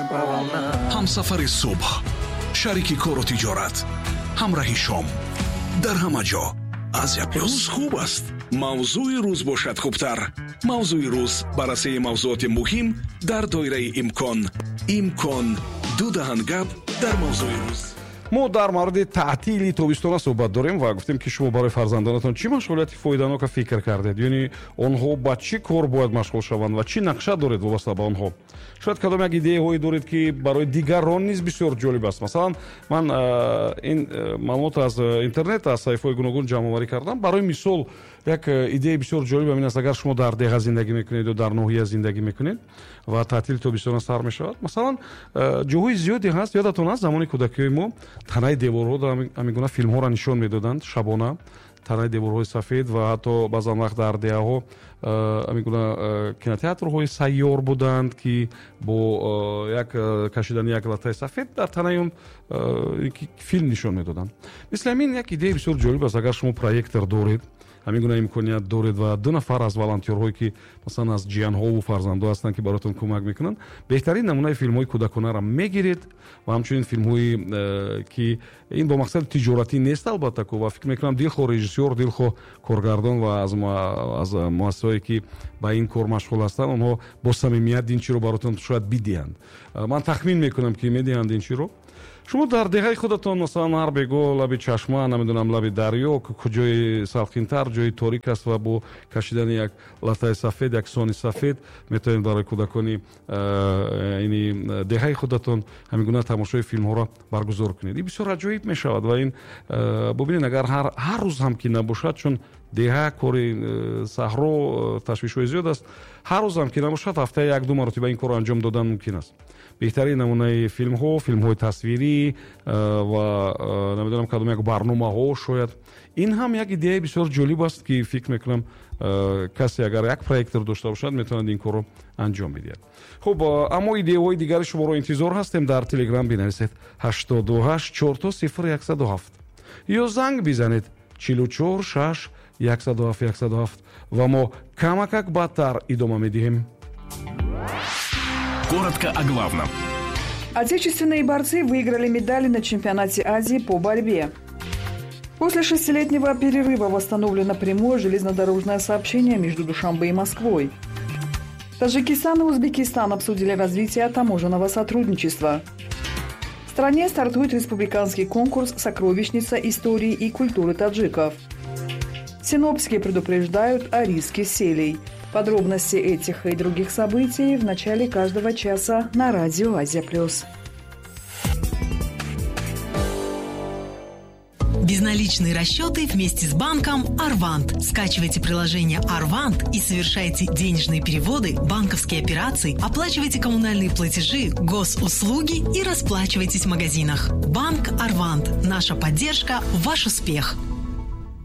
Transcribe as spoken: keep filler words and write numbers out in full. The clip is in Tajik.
По волнам. Ҳамсафари субҳ, шарики кору тиҷорат, ҳамраҳи шом, дар ҳама ҷо Азия Плюс. Рӯз хуб аст, мавзӯи рӯз бошад хубтар. Мавзӯи рӯз, баррасии мавзуоти муҳим дар доираи имкон. Имкон ду даҳан гап дар мавзӯи рӯз. Мо дар мавриди таътили тобистона суҳбат дорем ва гуфтем, ки шумо барои фарзандонатон чӣ машғулияти фоиданока фикр кардед, яъне онҳо ба чӣ кор бояд машғул шаванд ва чӣ нақша доред вобаста ба онҳо. Шояд кадом як идеяҳое доред, ки барои дигарон низ бисёр ҷолиб аст. Масалан, ман ин маълумот аз интернет, аз саҳифаҳои гуногун ҷамъоварӣ кардам. Барои мисол, як идеяи бисёр ҷолиб ин аст: агар шумо дар деҳа зиндагӣ мекунед ё дар ноҳия зиндагӣ мекунед ва таътили тобистона сар мешавад, масалан, ҷоҳои зиёде ҳаст. Ёдатон аст, замони кӯдакиҳои мо танаи деворҳо ҳамин гуна филмҳоро нишон медоданд шабона, танаи деворҳои сафед, ва ҳатто баъзан вақт дар деҳаҳо ҳамин гуна кинотеатрҳои сайёр буданд, ки бо як кашидани як латтаи сафед дар танаи он филм нишон медоданд. Мисли ҳамин як идеяи бисёр ҷолиб аст: агар шумо проектор доред, ҳамин гуна имконият доред ва ду нафар аз волонтёрҳое, ки масалан аз ҷиянҳову фарзандҳо ҳастанд, ки бароятон кӯмак мекунанд, беҳтарин намунаи филмҳои кӯдаконаро мегиред ва ҳамчунин филмҳои, ки ин бо мақсади тиҷоратӣ нест албатта, ва фикр мекунам дилхоҳ режиссёр, дилхоҳ коргардон ва аз аз муассисаҳое, ки ба ин кор машғул ҳастанд, онҳо бо самимият ин чиро бароятон шояд бидиҳанд. Ман тахмин мекунам, ки медиҳанд ин чиро. Шумо дар деҳаи худатон, масалан, ҳар бего лаби чашма, намедонам, лаби дарё, ҷои салқинтар, ҷои торик аст ва бо кашидани як латтаи сафед, як сони сафед метавонед барои кӯдакони ини деҳаи худатон ҳамин гуна тамошои филмҳоро баргузор кунед. Ин бисёр аҷоиб мешавад ва ин бубинед, агар ҳар рӯз ҳам ки набошад, чун деҳа кори саҳро ташвишҳои зиёд аст, ҳар рӯз ҳам ки набошад, ҳафтаи як ду маротиба ин корро анҷом додан мумкин аст. Беҳтарин намунаи филмҳо, филмҳои тасвирӣ ва намедонам кадом як барномаҳо шояд. Ин ҳам як идеяи бисёр ҷолиб аст, ки фикр мекунам касе агар як проектор дошта бошад, метавонад ин корро анҷом бидиҳад. Хуб, аммо идеяҳои дигари шуморо интизор ҳастем. Дар Телеграм бинависед ҳаштоду ҳашт чорто сифр яксаду ҳафт ё занг бизанед чилу чор шаш яксаду ҳафт яксаду ҳафт ва мо камакак баъдтар идома медиҳем. Коротко о главном. Отечественные борцы выиграли медали на чемпионате Азии по борьбе. После шестилетнего перерыва восстановлено прямое железнодорожное сообщение между Душанбе и Москвой. Таджикистан и Узбекистан обсудили развитие таможенного сотрудничества. В стране стартует республиканский конкурс «Сокровищница истории и культуры таджиков». Синоптики предупреждают о риске селей. Подробности этих и других событий в начале каждого часа на радио «Азия плюс». Безналичные расчеты вместе с банком «Арвант». Скачивайте приложение «Арвант» и совершайте денежные переводы, банковские операции, оплачивайте коммунальные платежи, госуслуги и расплачивайтесь в магазинах. Банк «Арвант». Наша поддержка – ваш успех.